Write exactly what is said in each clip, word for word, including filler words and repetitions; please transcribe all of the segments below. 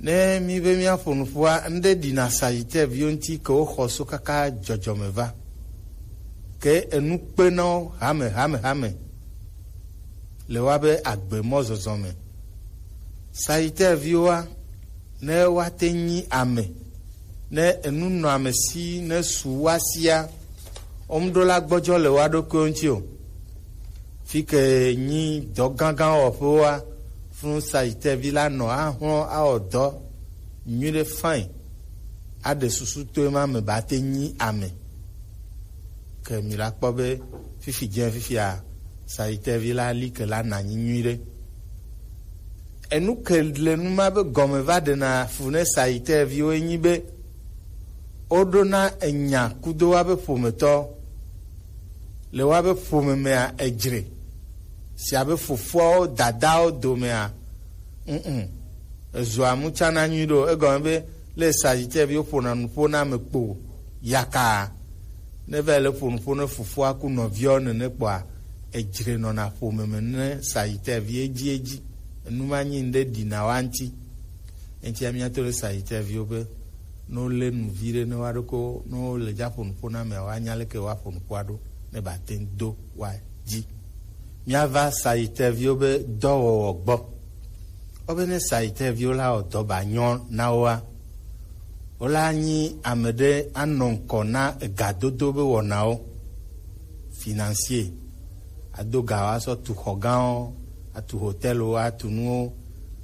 Ne mi be mia ƒo nuƒoa, ŋɖe ɖi na Sagittaire viwo ŋuti ke woxɔ so kaka dzɔdzɔme va. Ke enu kpe na wo hame, hame, hame. Le woabe agbe mɔzɔzɔ me. Sagittaire viwoa, ne woate nyi ame, ne enu nɔ ame si, ne su woa sia, womeɖo la gbɔdzɔ le woa ɖokuiwo ŋuti o. Fi ke nyi dɔ gãgã wɔƒewoa, funu Sagittaire vi la nɔ ahlɔ̃ awɔ dɔ nyuiɖe fine, aɖe susu to ema me ba te nyi ame. Ke mi la kpɔ be fifi dze fifia, Sagittaire vi la li ke la na nyi nyuiɖe. Enu ke le nu ma be gɔme va ɖena fu ne Sagittaire viwo enyi be woɖona enya kudo woabe ƒometɔ. Le woabe ƒome mea, edzre. Si abe fofoawo, dadawo domea, mm, ezua mu tsana nyui ɖo. Egɔme be le Sagittaire viwo ƒona nuƒo na ame kpo yaka. Ne va le ƒo nuƒo ne fofoa ku nɔviawo nene kpɔa, edzre nɔna ƒome me ne Sagittaire vi edzi edzi. Enu ma nyi ŋɖe ɖina wa ŋuti. Eŋutia míato ɖe Sagittaire viwo be, ne wolé nu vi ɖe ne woaɖo ko, ne wole dza ƒo nuƒo na amea, woanya leke woaƒo nuƒoa ɖo ne bate ŋu do woadzi. Míava Sagittaire viwo be dɔwɔwɔ gbɔ. Wobe ne Sagittaire viwo la wɔ dɔ ba nyɔ na woa, wola nyi ame ɖe anɔ ŋkɔ na egadodo be wɔnawo, financier. Ado ga woasɔ tu xɔ gãwo, atu hotɛlwo, atu nuwo.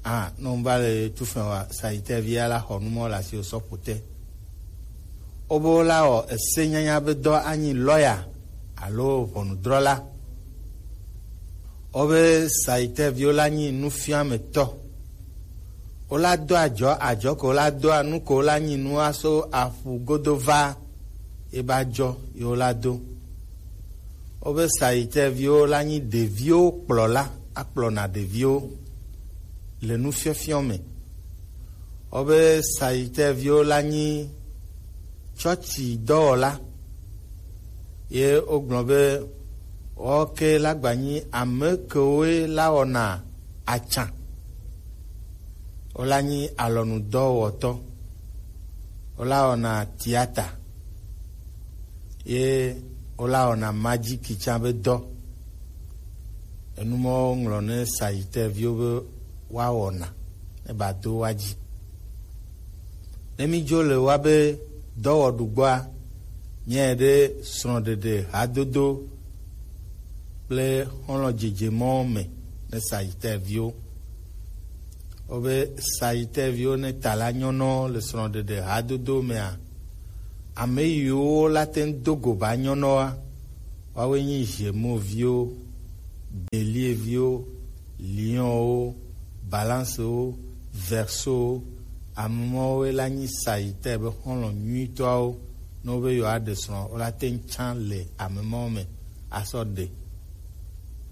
A, ne wova le tu fɛn wa, Sagittaire via la xɔ nu mɔ le asiwò sɔ ƒo te. Wobe wola wɔ ese nyanya be dɔ anyi lɔya alo ʋɔnudrɔla. Wobe Sagittaire viwo la nyi nufiametɔ. Wola do adzɔ, adzɔ ko wola doa, nu ko wola nyi nua so aƒu godo va, ye ba dzɔ ye wola do. Wobe Sagittaire viwo la nyi ɖeviwo kplɔla, akplɔna ɖeviwo le nufiɔfiɔ me. Wobe Sagittaire viwo la nyi tsɔtsi dɔwɔla. Ye wogblɔ be woke la gba nyi ame kewoe la wɔna atsa. Wola nyi alɔnudɔwɔtɔ. Wola wɔna tiata. Ye wola wɔna majiki tsã be dɔ. Enu mɔwo ŋlɔ ne Sagittaire viwo be woawɔna ne ba do wa dzi. Ne mídzo le woabe dɔwɔɖu gbɔa, míae ɖe srɔ̃ɖeɖe hadodo kple xɔlɔ̃ dzedze mɔwo me ne Sagittaire viwo. Wobe Sagittaire viwo ne ta la nyɔnɔ le srɔ̃ɖeɖe hadodo mea, ame yiwo la te ŋu do go ba nyɔnɔa, woawoe nyi Gémeaux viwo, Bélier viwo, Lion wo, Balance wo, Verseau wo. Ame mawoe la nyi Sagittaire be xɔlɔ̃ nyuitɔawo. Ne wobe yewoaɖe srɔ̃, wola te ŋu tsã le ame mawo me asɔ ɖe.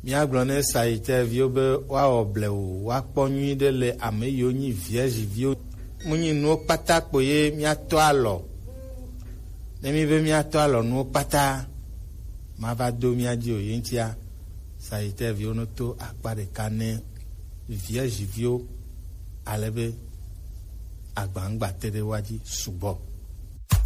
Míagblɔ ne Sagittaire viwo be woawɔ blewu, woakpɔ nyuiɖe le ame yiwo nyi Vierge viwo. Mu nyi nuwo kpata kpo ye míatɔ alɔ. Ne mí be míatɔ alɔ nuwo kpata, mava do mía dzi o. Ye ŋutia, Sagittaire viwo no to akpa ɖeka ne Vierge viwo, ale be agbaŋgba te ɖe woa dzi sugbɔ.